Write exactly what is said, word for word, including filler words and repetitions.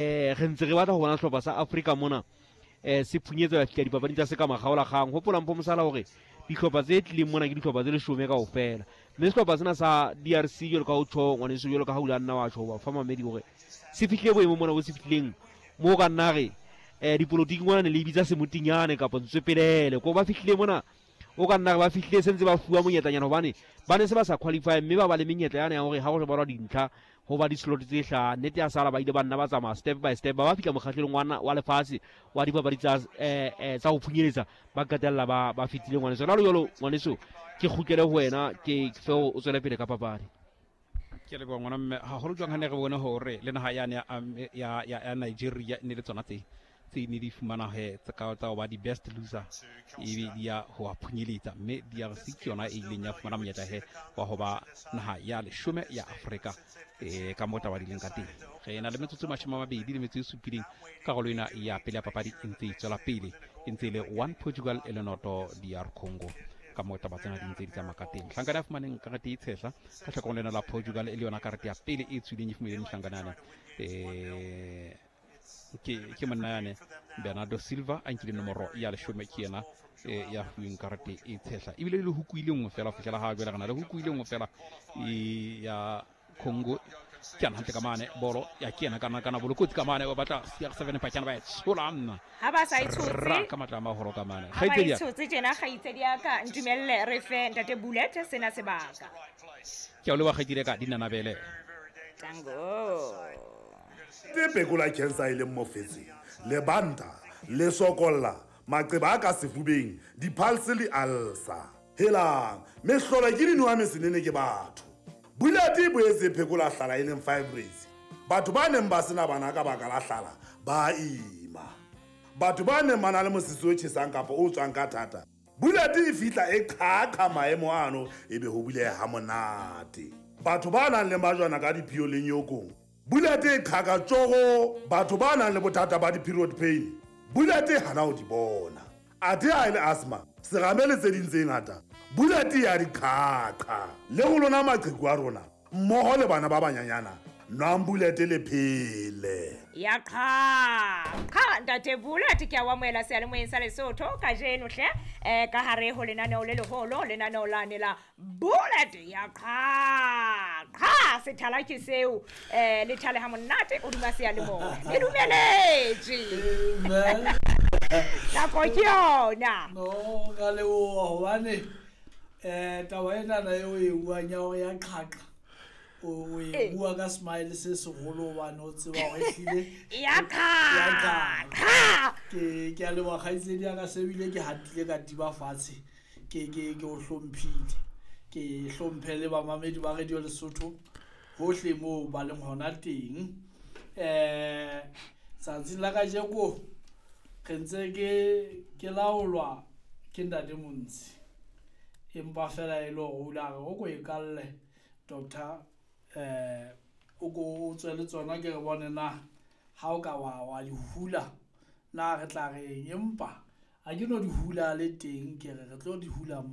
Eh re ntse re batla ho bona sehlopha sa Afrika mona eh se phunyetsa ya fihla dipapading tsa seka makgaolakgang. Hopola Mpho Mosala hore dihlopha tse tlileng mona ke dihlopha tse leshome kaofela, mme sehlopha sena sa D R C jwalo ka ho tjho ngwaneso, jwalo ka ha o ile a nna wa tjho ba fa mamedi hore se fihlile boemong mona bo se fihlileng moo ka nna re eh dipolotiki ngwana ne le bitsa semotinyane kapa ntswepelele ko ba fihlile mona o ka nna re ba fihlile se ntse ba fuwa monyetlanyana hobane ba ne se ba sa qualify, mme ba ba le menyetla yane ya hore ha ho balwa dintlha ho ba di-slot tse hlano. Nnete ya sala ba ile ba nna ba tsamaya step by step, ba ba fihla mokgahlelong wa na-, wa lefatshe wa dipapadi tsa, eh, eh, tsa ho phunyeletsa, ba qetella ba, ba fetile ngwaneso. Jwalo jwalo ngwaneso, ke kgutlele ho wena, ke fe o tswele pele ka papadi. Ke a leboha ngwana mme, haholo jwang ha ne re bone hore le naha yane ya, ya, ya, ya Nigeria e ne le tsona tse tse ne di fumana he tsa ka tsa ho ba di-best loser, ebe di ya ho ba phunyeletsa, mme D R C ke yona e ileng ya fumana monyetla he wa ho ba naha ya leshome ya Afrika, eh, ka moo taba di leng ka teng. Re na le metsotso e mashome a mabedi le metso e supileng, karolo ena ya pele ya papadi e ntse e tswela pele, e ntse e le one Portugal e le noto D R Congo. Ka moo taba tsena di ntse di tsamaya ka teng. Mohlankana ya fumaneng karete e tshehla ka hlakoreng lena la Portugal, e le yona karete ya pele e tswileng e fumaneng mohlankana yane, eh, ke, ke monna yane Bernardo Silva a nkile nomoro ya leshome, ke yena, eh, ya fuweng karete e tshehla. Ebile le huku e le nngwe fela ho fihlela ha jwale, re na le huku e le nngwe fela e ya Congo. Ke ana hantle ka mane, bolo ya kena kana kana bolokotsi ka mane, ba batla C R seven pakana ba e tshola nna. Ha ba sa e tshotse. Ra ka matla a maholo ka mane. Ha ba e Kgaitsedi ya ka. tshotse tjena, kgaitsedi ya ka, ntumelle re fe ntate Bullet sena sebaka. Ke a o leboha kgaitsedi ya ka, dinanabele. Tango. Ke phekola cancer e leng mofetshe, lebanta, le sokolla, maqeba a ka sefubeng, di-pulse le ulcer. Helang, mehlolo ke dinowa mesenene ke batho. Bullet e boetse e phekola hlala e leng fibroids. Batho ba neng ba sena bana ka baka la hlala ba ima. Batho ba neng ba na le mosese o tjhesang kapa o tswang ka thata, Bullet e fihla e qhaqha maemo ano, ebe ho buleha ha monate. Batho ba nang le majwana ka diphio le nyokong, Bullet e qhaka tjoro. Batho ba nang le bothata ba di-period pain, Bullet e hana ho di bona. Athe ha e le asthma, serame le tse ding tse ngata, Bullet ya di qhaqha. Le ho lona maqheku a rona, mmoho le bana ba banyanyana, nwang Bullet le phele. Ya qhaqha, ntate Bullet, ke a o amohela seyalemoyeng sa Lesotho kajeno hle, eh, ka hare ho lenaneo le leholo, lenaneo lane la Bullet ya qhaqha. Sethala ke seo, eh, le thale ha monate o duma seyalemoya. Le dumeletswe. Amen. Nako ke yona. No, ka leboha hobane, eh, taba enana eo e buang ya hore ya qhaqha, o, o e Eh. bua ka smile se seholo hobane o tseba hore ehlile Ya ya qhaqha. qhaqha. Ke, ke a leboha kgaitsedi ya ka, se bile ke hatile ka tiba fatshe. Ke, ke, ke o hlomphile. Ke hlomphe le bamamedi ba Radio Lesotho hohle moo ba leng hona teng. Eh, tsatsing la kajeko re ntse ke, ke laolwa ke ntate Montsi, empa fela e le hore o ile a re o ko e kalle doctor, eh, o ko o tswe le tsona ke re bone na ha o ka wa, wa di hula na re tla reng, empa ha ke no di hula le teng, ke re re tlo di hula mmoho.